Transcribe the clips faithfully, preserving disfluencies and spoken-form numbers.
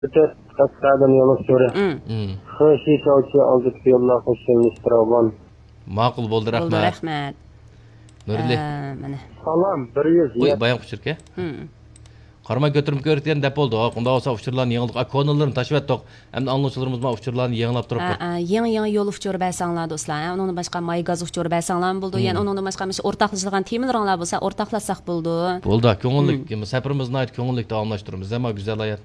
ئۆتۈپ، قەشقەردىن يولۇچى. مم. مم. خېشى چاۋچى ئالدىدىكى يوللار خۇشۇملۇشتۇرغان. ماقۇل بولدى، بولدى، رەھمەت. رەھمەت. نۇرلى. ئە، مانا. سالام، بىر يۈز قوي، يەت. بايام ئۇچۇركەن. مم. قاراماي كۆتۈرۈپ كۆرۈۋەتكەن دەپ بولدى. ئۇنداق بولسا ئۇچۇرلارنى يېڭىلدۇق. ئا، كونىلىرىنى تاشلىۋەتتۇق. ئەمدى ئاڭلىغۇچىلىرىمىز ما ئۇچۇرلارنى يېڭىلاپ تۇرۇپتۇ. ھە، ھە، يېڭى، يېڭى يول ئۇچۇرى بەرسەڭلار دوستلار، ھە. ئۇنىڭدىن باشقا ماي گاز ئۇچۇرى بەرسەڭلارمۇ بولىدۇ. مم. يەنە ئۇنىڭدىن باشقا مۇشۇ ئورتاقلىشىدىغان تېمىلىرىڭلار بولسا ئورتاقلاشساق بولىدۇ. بولدى، كۆڭۈللۈك. مم. سەپىرىمىزنى ناھايىتى كۆڭۈللۈك داۋاملاشتۇرىمىز. ئەمما گۈزەل ھايات.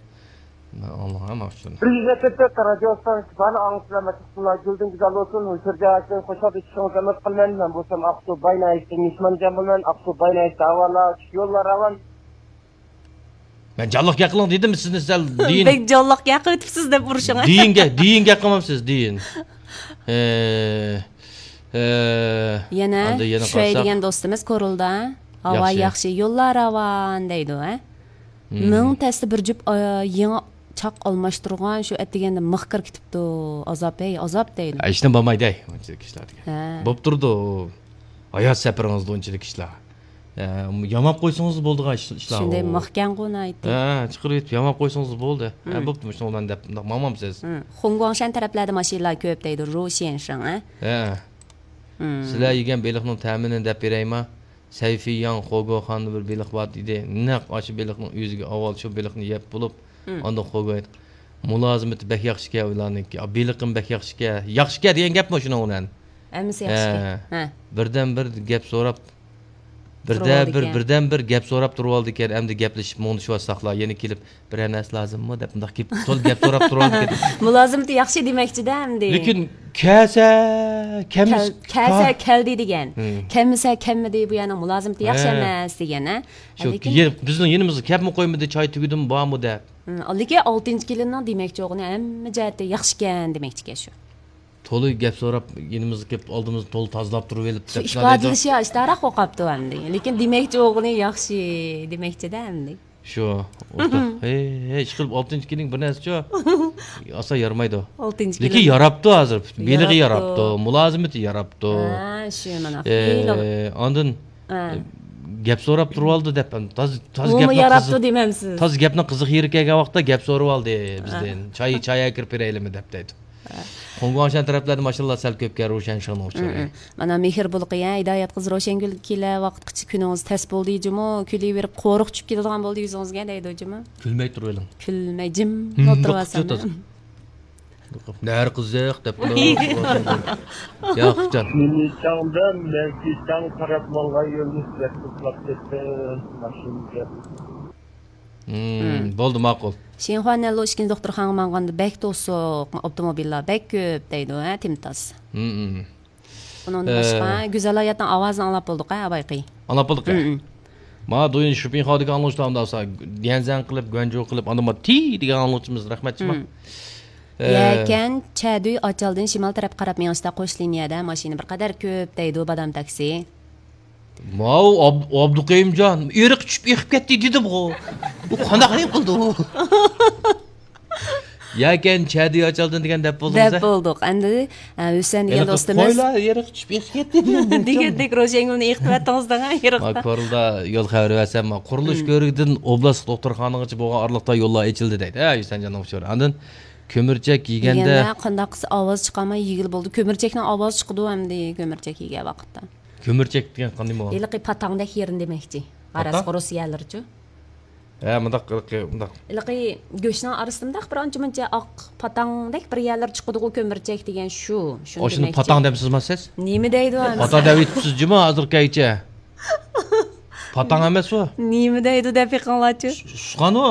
مەن ئاڭلىغان ئاشۇنى. بىر يۈز يەتتە تۆت رادىيو ستانسىسى بارنى ئاڭلىسىلەر، مەكتۇپ قىلىڭلار. گۈلدىن گۈزەل بولسۇن، ھۇزۇرجان ئاكىنى خۇشال ئېچىشىڭىزنى ئۈمىد قىلىمەن. مەن بولسام ئاقسۇ باي ناھىيەسىدىن مېھمانجان بولىمەن. ئاقسۇ باي ناھىيەسىدە ئەھۋاللار، يوللار راۋان. مەن جانلىق گەپ قىلىڭ دېدىم سىزنى سەل دېيىن. بەك جانلىق گەپ قىلىۋېتىپسىز دەپ ئۇرۇشۇڭ. دېيىن گە-، دېيىن گەپ قىلمامسىز، دېيىن. ئە، ئە، يەنە ئاندىن يەنە شۇەي قارىساق. دېگەن دوستىمىز كورلىدا. ھاۋا ياخشى. ياخشى، يوللار راۋان دەيدۇ، ھە؟ مم. مىڭ تەستە بىر جۈپ، ئا، يېڭى چاق ئالماشتۇرغان، شۇ ئەتىگەندە مىخ كىرىپ كېتىپتۇ. ئازاب، ھەي، ئازاب دەيدۇ. ھە، ھېچنېمە بولمايدۇ، ھەي، ئۇنچىلىك ئىشلار دېگەن. ھە. بوپ تۇرىدۇ. ھايات سەپىرىڭىزدە ئۇنچىلىك ئىشلار. ھە، ياماپ قويسىڭىز بولىدىغان ئىش-، ئىشلار شۇنداق ئۇ. مىخكەنغۇ ناھايىتى. ھە، چىقىرىۋېتىپ ياماپ قويسىڭىز بولدى. ھە، مم. بوپتۇ، مۇشۇنى مەن دەپ، مۇنداق ماڭمامسىز. مم. خۇڭگۇاڭشەن تەرەپلەردە ماشىنىلار كۆپ دەيدۇ، رۇشيەنشىڭ، ھە؟ ھە. مم. سىلەر يېگەن بېلىقنىڭ تەمىنى دەپ بېرەيما؟ سەيفىياڭ خوگوخاندا بىر بېلىق بار ئىدى. نەق ئاشۇ بېلىقنىڭ ئۆزىگە ئاۋۋال شۇ بېلىقنى يەپ بولۇپ، مم. ئاندىن خوگو ئېيتقان، مۇلازىمىتى بەك ياخشىكەن ئۇلارنىڭكى. ئا، بېلىقىم بەك ياخشىكەن. ياخشىكەن دېگەن گەپمۇ شۇنىڭ بىلەن؟ ھەممىسى ياخشىكەن. ھە. ھە. بىردەمبىر گەپ سوراپ، بىردەمبىر، تۇرۇۋالىدىكەن. بىردەمبىر گەپ سوراپ تۇرۇۋالىدىكەن. ئەمدى گەپلىشىپ مۇڭدىشىۋاتساقلا، يەنە كېلىپ، بىرەر نەرسە لازىممۇ دەپ مۇنداق كېلىپ، تولا گەپ سوراپ تۇرۇۋالىدىكەن. مۇلازىمىتى ياخشى دېمەكچىدە ئەمدى. لېكىن كەلسە، كەلمىس-، كەل-، كەلسە ھا. كەلدى دېگەن. ھىم. كەلمىسە كەلمىدى، بۇ يەرنىڭ مۇلازىمىتى ياخشى ھە. ئەمەس دېگەن، ھە. شۇ لېكىن يە-، بىزنىڭ يېنىمىزغا كەپمۇ قويمىدى، چاي تۈگىدىمۇ، بارمۇ دەپ. ھىم، لېكىن ئالتىنچى كېلىننىڭ دېمەكچى بولغىنى ھەممە جەھەتتە ياخشىكەن دېمەكچىكەن شۇ. تولا گەپ سوراپ، يېنىمىزغا كېلىپ، ئالدىمىزنى تولا تازىلاپ تۇرۇۋېلىپ شۇ دەپ ئىپادىلىشى ئاشتاراق بولۇپ قاپتۇ ئەمدى. لېكىن دېمەكچى بولغىنى ياخشى دېمەكچىدە ئەمدى. شۇ، ئوتتۇرا. ھەي، ھەي، ئىشقىلىپ ئالتىنچى كېلىن بىر نەرسە شۇ. ئاسا يارىمايدۇ. ئالتىنچى لېكىن كېلىن. ياراپتۇ ھازىر. بېلىقى ياراپتۇ. ياراپتۇ، مۇلازىمىتى ياراپتۇ. ھە، شۇ مانا. ئە، ئاندىن ھە. گەپ سوراپ تۇرۇۋالدى دەپ، تاز-، تاز ئۇمۇ گەپنىڭ ياراپتۇ قىزىق، دېمەمسىز؟ تاز گەپنىڭ قىزىق يېرى كەلگەن ۋاقىتتا گەپ سورىۋالدى بىزدىن. ھە. چاي، چاي ئەكىرىپ بېرەيلىمۇ دەپ دەيدۇ. ھە. خۇڭگۇاڭشەن تەرەپلەردە ماشاللا سەل كۆپكەن روشەن شىڭنىڭ ئۇچۇرى. مم، مم. مانا مېھىر بۇلىقى، ھە، ھىدايەت قىز روشەنگۈل كېلە ۋاقىتقىچە كۈنىڭىز تەس بولدى جۇمۇ، كۈلۈۋېرىپ قورۇق چۈشۈپ كېتىدىغان بولدى يۈزىڭىزگە دەيدۇ جۇمۇ. كۈلمەي تۇرۇۋېلىڭ. كۈلمەي جىم مم، ئولتۇرۇۋالسام. نەر قىزىق دەپ. ياق، جان. مېنى چاڭدىن مەنكى چاڭ قاراپ ماڭغان يولنى سىلەر توپلاپ كەتسە، ماشىنا گەپ. مم، مم. بولدى، ماقۇل. شىنخۇا نەنلۇ ئىككىنچى دوختۇرخانىغا ماڭغاندا بەك توسۇق، ئاپتوموبىللار بەك كۆپ دەيدۇ، ھە، تىمتاس. مم، مم. ئۇنىڭدىن ئە. باشقا، گۈزەل ھاياتنىڭ ئاۋازىنى ئاڭلاپ بولدۇق، ھە، ئابايقى؟ ئاڭلاپ بولدۇق، ھە. مم، مم. ما دويۇن شۇپىڭخادىكى ئاڭلىغۇچىلار ئاندىن ئاسا يەنزەن قىلىپ، گۇەنجۇ قىلىپ، ئاندىن ما تى دېگەن ئاڭلىغۇچىمىز، رەھمەتچى ما. مم. ئە. يەكەن چەدۈي ئاچالدىن شىمال تەرەپكە قاراپ مېڭىشتا قوش لىنىيەدە ماشىنا بىر قەدەر كۆپ دەيدۇ، بادام تاكسى. ماۋۇ ئاب-، ئابدۇقېيۇمجان، ئېرىق چۈشۈپ ئېقىپ كەتتى دېدىمغۇ. بۇ قانداق نېمە قىلدى ئۇ؟ يەكەن چەدۈي ئاچالدىن دېگەن دەپ بولدىڭىز، دەپ ھە؟ بولدۇق. ئەمدى، ئە، ھۈسەن دېگەن ھېلىقى دوستىمىز قويلار ئېرىق چۈشۈپ ئېقىپ كەتتى دېگەن دېگەندەك روشەنگۈلنى ئېقىتىۋەتتىڭىز دەڭ، ئېرىقتا. ما كورلىدا يول خەۋىرى بەرسەم، ما قۇرۇلۇش مم. كۆۋرۈكىدىن ئوبلاستلىق دوختۇرخانىغىچە بولغان ئارىلىقتا يوللار ئېچىلدى دەيدۇ. ھە، ھۈسەنجاننىڭ ئۇچۇرى. ئاندىن كۆمۈرچەك يېگەندە يېگەندە قانداق قىلسا ئاۋاز چىقارماي يېگىلى بولىدۇ. كۆمۈرچەكنىڭ ئاۋازى چىقىدۇ ئەمدى، كۆمۈرچەك يېگەن ۋاقىتتا. كۆمۈرچەك دېگەن قانداق بولغان؟ ھېلىقى پاتاڭدەك يېرىنى دېمەكچى. پاتاڭ؟ غەرەز، رۇس يەرلىرىچۇ. ھە، مۇنداق، ھېلىقى، مۇنداق. ھېلىقى گۆشنىڭ ئارىسىدا مۇنداق بىر ئانچە مۇنچە ئاق پاتاڭدەك بىر يەرلەر چىقىدىغۇ، كۆمۈرچەك دېگەن شۇ. شۇنى ئاشۇنى دېمەكچى. پاتاڭ دەمسىزما سىز؟ نېمە دەيدۇ ئەمىسە؟ پاتاڭ دەۋېتىپسىز جۇمۇ ھازىرقىچە. پاتاڭ ئەمەس ئۇ. نېمە دەيدۇ دەپ بېقىڭلارچۇ. ئۇس-، ئۇسقان ئۇ.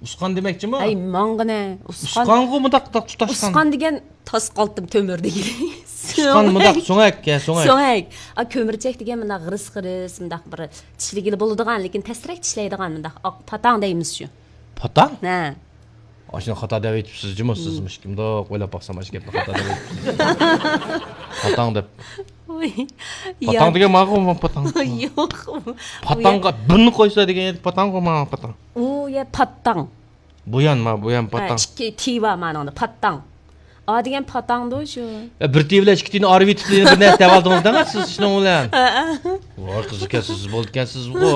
ئۇسقان دېمەكچىمۇ؟ ئەي، ماڭغىنە. ئۇسقان. ئۇسقانغۇ مۇنداق، مۇنداق تۇتاشقان. ئۇسقان دېگەن تاس قالتىم تۆمۈر دېگىلى. ئۇسقان مۇنداق سۆڭەك، ھە، سۆڭەك. سۆڭەك. ئا، كۆمۈرچەك دېگەن مۇنداق غىرىس-غىرىس، مۇنداق بىر چىشلىگىلى بولىدىغان، لېكىن تەسرەك چىشلەيدىغان مۇنداق ئاق پاتاڭ دەيمىز شۇ. پاتاڭ؟ ھە. ئاشۇنى خاتا دەۋېتىپسىز جۇمۇ سىز، مم. مۇشۇ مۇنداق ئويلاپ باقسام، ئاشۇ گەپنى خاتا دەۋېتىپسىز. پاتاڭ دەپ. ئۇي، پاتاڭ ياق. دېگەن ماقۇلمۇ، پاتاڭ؟ ياق. پاتاڭغا بىرنى قويسا دېگەن ئىدى، پاتاڭغۇ ماڭا پاتاڭ. ئۇ يە پاتاڭ. بۇيان ما، بۇيان ھە، پاتاڭ. ئىككى تى بار مانىڭدا، پاتاڭ. ئا دېگەن پاتاڭدۇ شۇ. ئە، بىر تى بىلەن ئىككى تىنى ئايرىۋېتىپ، بىر نەرسە دەۋالدىڭىز دەڭە سىز شۇنىڭ بىلەن. ھە، ھە. ۋاي، قىزىقكەنسىز، بولىدىكەنسىزغۇ.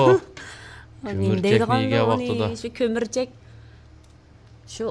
نېمە كۆمۈرچەكنى دەيدىغاندۇ يېگەن ئۇنى؟ ۋاقتىدا. شۇ كۆمۈرچەك. شۇ